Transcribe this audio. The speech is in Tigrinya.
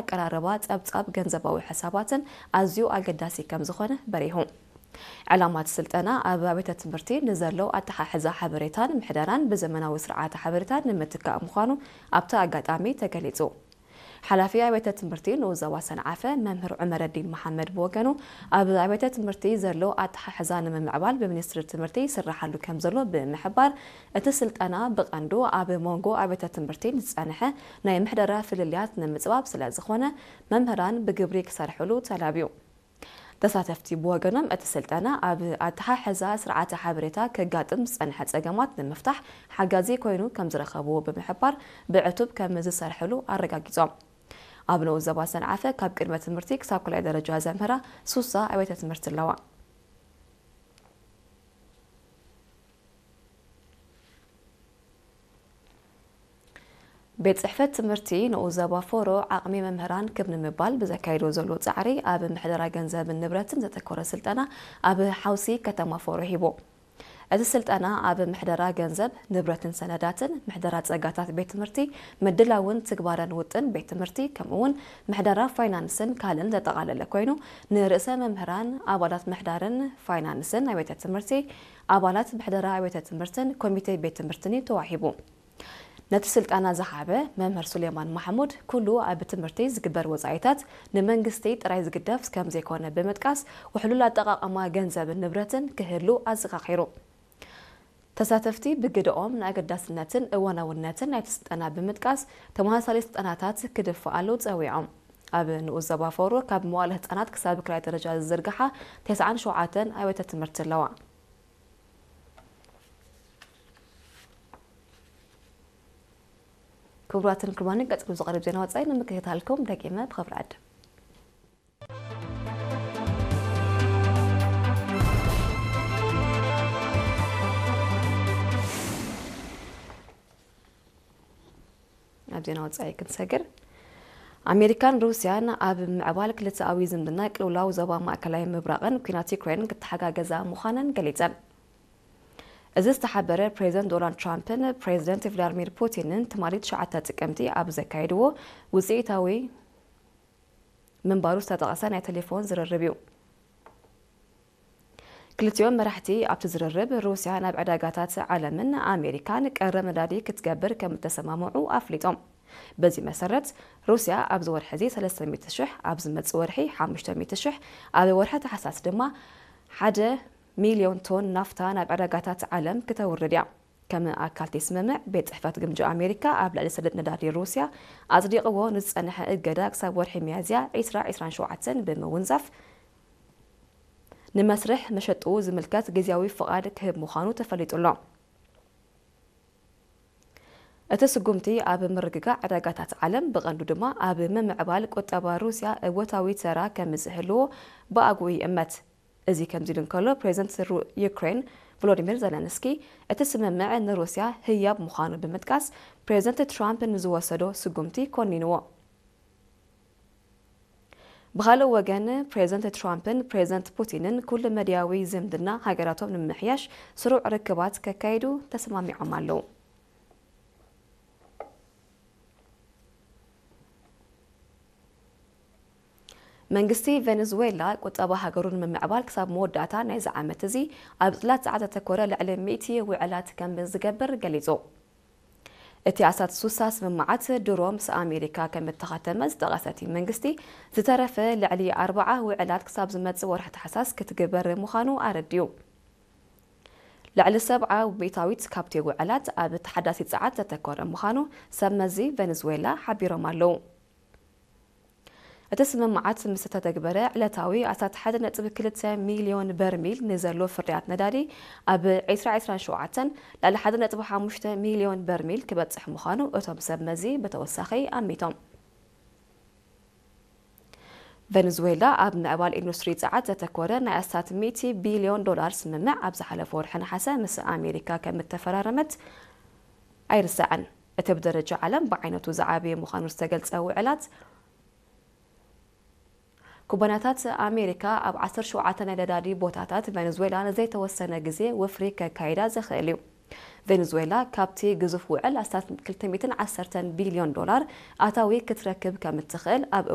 ኣቀራርባ ጸብጻብ ገንዘባዊ ሕሳባትን ኣዝዩ ኣገዳሲ ከም ዝኾነ በሪሁ። ዕላማ እቲ ስልጠና ኣብ ኣብያተ ትምህርቲ ንዘሎ ኣተሓሕዛ ሓበሬታን ምሕደራን ብዘመናዊ ስርዓተ ሓበሬታን ንምትካእ ምዃኑ ኣብቲ ኣጋጣሚ ተገሊጹ። ሓላፊ ኣብያተ ትምህርቲ ንኡስ ዞባ ሰንዓፈ መምህር ዑመረዲን መሓመድ ብወገኑ፣ ኣብ ኣብያተ ትምህርቲ ዘሎ ኣተሓሕዛ ንምምዕባል ብሚኒስትሪ ትምህርቲ ይስራሓሉ ከም ዘሎ ብምሕባር፣ እቲ ስልጠና ብቐንዱ ኣብ መንጎ ኣብያተ ትምህርቲ ንዝጸንሐ ናይ ምሕደራ ፍልልያት ንምጽባብ ስለ ዝኾነ፣ መምህራን ብግብሪ ክሰርሕሉ ተላብዩ። ተሳተፍቲ ብወገኖም፣ እቲ ስልጠና ኣብ ኣተሓሕዛ ስርዓተ ሓበሬታ ከጋጥም ዝጸንሐ ጸገማት ንምፍታሕ ሓጋዚ ኮይኑ ከም ዝረኸብዎ ብምሕባር፣ ብዕቱብ ከም ዝሰርሕሉ ኣረጋጊጾም። ኣብ ንኡስ ዞባ ሰንዓፈ ካብ ቅድመ ትምህርቲ ክሳብ ካልኣይ ደረጃ ዘምህራ ሱሳ ኣብያተ ትምህርቲ ኣለዋ። ቤት ጽሕፈት ትምህርቲ ንኡስ ዞባ ፎሮ ዓቕሚ መምህራን ክብ ንምባል ብዘካየዶ ዘሎ ጻዕሪ፣ ኣብ ምሕደራ ገንዘብን ንብረትን ዘተኮረ ስልጠና ኣብ ሓውሲ ከተማ ፎሮ ሂቡ። እቲ ስልጠና ኣብ ምሕደራ ገንዘብ፣ ንብረትን ሰነዳትን፣ ምሕደራ ጸጋታት ቤት ትምህርቲ፣ ምድላውን ትግባረን ውጥን ቤት ትምህርቲ፣ ከምኡ'ውን ምሕደራ ፋይናንስን ካልእን ዘጠቓለለ ኮይኑ፣ ንርእሰ መምህራን፣ ኣባላት ምሕዳርን ፋይናንስን ኣብያተ ትምህርቲ፣ ኣባላት ምሕደራ ኣብያተ ትምህርትን ኮሚቴ ቤት ትምህርትን እዩ ተዋሂቡ። ነቲ ስልጠና ዝሃበ መምህር ሱሌማን ማሕሙድ፣ ኩሉ ኣብ ትምህርቲ ዝግበር ወጻኢታት ንመንግስቲ ጥራይ ዝግደፍ ከም ዘይኮነ ብምጥቃስ፣ ውሕሉል ኣጠቓቕማ ገንዘብን ንብረትን ክህሉ ኣዘኻኺሩ። ተሳተፍቲ ብግደኦም፣ ንኣገዳስነትን እዋናውነትን ናይቲ ስልጠና ብምጥቃስ፣ ተመሳሳሊ ስልጠናታት ክድፍኣሉ ጸዊዖም። ኣብ ንኡስ ዞባ ፎሮ ካብ መዋእለ ህጻናት ክሳብ ካልኣይ ደረጃ ዝዝርግሓ ተስዓን ሸውዓተን ኣብያተ ትምህርቲ ኣለዋ። ክቡራትን ክቡራንን፣ ቀጺሉ ዝቐርብ ዜና ወጻኢ ንምክትታልኩም ደጊመ ብኽብሪ ዕድም። ኣብ ዜና ወጻኢ ክንሰግር፣ ኣሜሪካን ሩስያን ኣብ ምዕባል ክልተኣዊ ዝምድና ቅልውላው ዞባ ማእከላይ ምብራቕን ኲናት ዩክሬን ክተሓጋገዛ ምዃነን ገሊጸን። እዚ ዝተሓበረ ፕሬዚደንት ዶናልድ ትራምፕን ፕሬዚደንት ቭላድሚር ፑቲንን ትማሊ ትሽዓተ ጥቅምቲ ኣብ ዘካየድዎ ውጽኢታዊ ምንባሩ ዝተጠቕሰ ናይ ቴሌፎን ዝርርብ እዩ። ክልቲኦም መራሕቲ ኣብቲ ዝርርብ፣ ሩስያ ናብ ዕዳጋታት ዓለምን ኣሜሪካን ቀረብ ነዳዲ ክትገብር ከም እተሰማምዑ ኣፍሊጦም። በዚ መሰረት፣ ሩስያ ኣብዚ ወርሒ እዚ ሰለስተ ሚእቲ ሽሕ፣ ኣብ ዝመጽእ ወርሒ ሓሙሽተ ሚእቲ ሽሕ፣ ኣብ ወርሒ ታሕሳስ ድማ ሓደ ሚልዮን ቶን ናፍታ ናብ ዕዳጋታት ዓለም ክተውርድ እያ። ከም ኣካል እቲ ስምምዕ፣ ቤት ጽሕፈት ግምጃ ኣሜሪካ ኣብ ልዕሊ ሰደድ ነዳዲ ሩስያ ኣጽዲቕዎ ንዝጸንሐ እገዳ ክሳብ ወርሒ ሚያዝያ ዕስራ ዕስራን ሸውዓተን ብምውንዛፍ፣ ንመስርሕ መሸጥኡ ዝምልከት ግዝያዊ ፍቓድ ክህብ ምዃኑ ተፈሊጡ ኣሎ። እቲ ስጉምቲ ኣብ ምርግጋእ ዕዳጋታት ዓለም፣ ብቐንዱ ድማ ኣብ ምምዕባል ቁጠባ ሩስያ እወታዊ ተራ ከም ዝህልዎ ብኣግኡ ይእመት። እዚ ከምዚ ኢሉ እንከሎ፣ ፕሬዚደንት ሩ-፣ ዩክሬን ቮሎዲሚር ዘለንስኪ፣ እቲ ስምምዕ ንሩስያ ህያብ ምዃኑ ብምጥቃስ፣ ፕሬዚደንት ትራምፕ ንዝወሰዶ ስጉምቲ ኮኒንዎ። ብኻልእ ወገን፣ ፕሬዚደንት ትራምፕን ፕሬዚደንት ፑቲንን ኩሉ መድያዊ ዝምድና ሃገራቶም ንምምሕያሽ ስሩዕ ርክባት ከካይዱ ተሰማሚዖም ኣለዉ። መንግስቲ ቬኔዙዌላ፣ ቁጠባ ሃገሩ ንምምዕባል ክሳብ መወዳእታ ናይዚ ዓመት እዚ ኣብ ጽላት ጸዓት ዘተኮረ ልዕሊ ሚእቲ ውዕላት ከም ዝገብር ገሊጹ። እቲ ኣስታት ሱሳ ስምምዓት ድሮ ምስ ኣሜሪካ ከም እተኸተመ ዝጠቐሰ እቲ መንግስቲ፣ ዝተረፈ ልዕሊ ኣርብዓ ውዕላት ክሳብ ዝመጽእ ወርሒ ታሕሳስ ክትግበር ምዃኑ ኣረዲኡ። ልዕሊ ሰብዓ ሚእታዊት ካብቲ ውዕላት ኣብ ተሓዳሲ ጸዓት ዘተኮረ ምዃኑ ሰብ መዚ ቬኔዙዌላ ሓቢሮም ኣለዉ። እቲ ስምምዓት ምስ ተተግበረ፣ ዕለታዊ ኣስታት ሓደ ነጥቢ ክልተ ሚልዮን በርሚል ንዘሎ ፍርያት ነዳዲ፣ ኣብ ዕስራ ዕስራን ሸውዓተን ልዕሊ ሓደ ነጥቢ ሓሙሽተ ሚልዮን በርሚል ክበጽሕ ምዃኑ እቶም ሰብ መዚ ብተወሳኺ ኣሚቶም። ቬኔዙዌላ ኣብ ምዕባል ኢንዱስትሪ ጸዓት ዘተኮረ ናይ ኣስታት ሚእቲ ቢልዮን ዶላር ስምምዕ ኣብ ዝሓለፈ ወርሒ ነሓሰ ምስ ኣሜሪካ ከም እተፈራረመት ኣይርሳዕን። እቲ ብደረጃ ዓለም ብዓይነቱ ዝዓበየ ምዃኑ ዝተገልጸ ውዕላት፣ ኩባንያታት ኣሜሪካ ኣብ ዓሰርተ ሸውዓተ ናይ ነዳዲ ቦታታት ቬኔዙዌላ ንዘይተወሰነ ግዜ ወፍሪ ከካይዳ ዘኽእል እዩ። ቬኔዙዌላ ካብቲ ግዙፍ ውዕል ኣስታት ክልተ ሚእትን ዓሰርተን ቢልዮን ዶላር ኣታዊ ክትረክብ ከም እትኽእል ኣብ